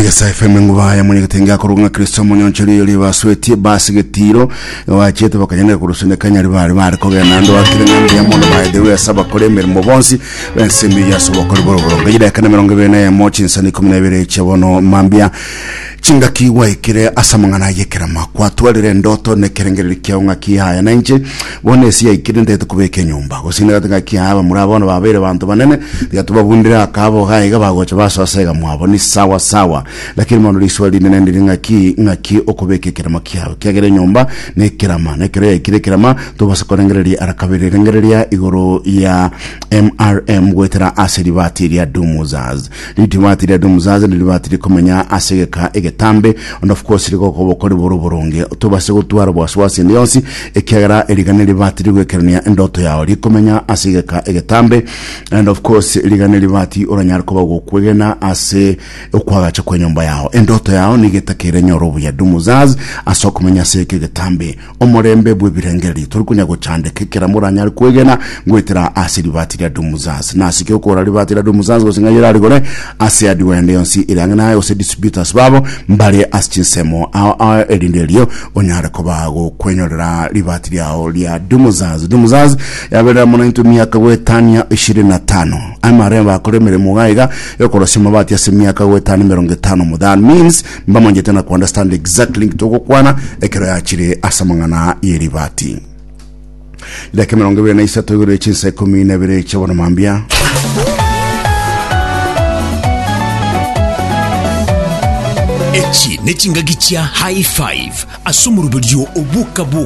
Egesa FM enguba ya mwenyegetenge akorwa ng'a Kristo omonyonchori oyo ribaswetie basi getiro bachiete bakanyene korusune kanyari bare bare kogenda ando akire ng'a mbuya mono by the way ase abakora emeremo bonsi bensemi ya ase obokori boroboronge chidakika na 21 chinsani 12 chia bono mambia Chingaki gwaikire ase amang'ana ay'ekerama, kwatwarire endoto na ekerengererio kiao ng'aki yaya, na inche bono ase yaikire ntagete kobeka enyomba. Gose nigate ng'aki yaya abamura bono babeire abanto banene, tiga tobabundere akabo iga iga bagocha basoa ase iga mwabo, ni sawa sawa. Lakini bono riswali rinene ndiri ng'aki, ng'aki okobeka ekerama kiao? Ekiagera enyomba nekerama, na ekero yaikire ekerama, tobasa korengereria ara kabere. Rengereria igoro ya MRM goetera ase ribati ria Dumuzaz. Ribati ria Dumuzaz ni ribati rikomenya ase egeka egetambe, and of course rigokoba okori bore oboronge. Tobase gotwara obwasiwasi ende yonsi, ekiagera eriga neribati rigoekerania endoto yao rikomenya ase egeka egetambe, and of course riga neribati oranyare koba gokwegena ase okwagacha kwenyomba yao. Endoto yao nigo etakeire enyore obuya Dumuzaz ase okomenya ase egeka egetambe. Omorembe bw'ebirengererio tori konya gochandeka ekero moranyare kwegena goetera ase ribati ria Dumuzaz. Nase ki okogora ribati ria Dumuzaz gose ng'ai orarigore ase hardware ende yonsi ere ang'e naye gose distributors babo mbare ase chinsemo ao ao erinde erio onyare koba gokwenyorera ribati riao ria Dumuzaz. Dumuzaz yaberera mono intwe emiaka goetania ishirini na tano. Amare bakore emeremo iga iga yokorosia amabati ase emiaka goetania emerongo etano. That means Mbamanchete na ku-understand exactly nki togokwana ekero yachire ase amang'ana y'eribati. Dakika 23 igoro ye chinsa ikomi na ibere chia bono mambia. Echi nechingaki chia High Five ase omoroberio o Boka Boka.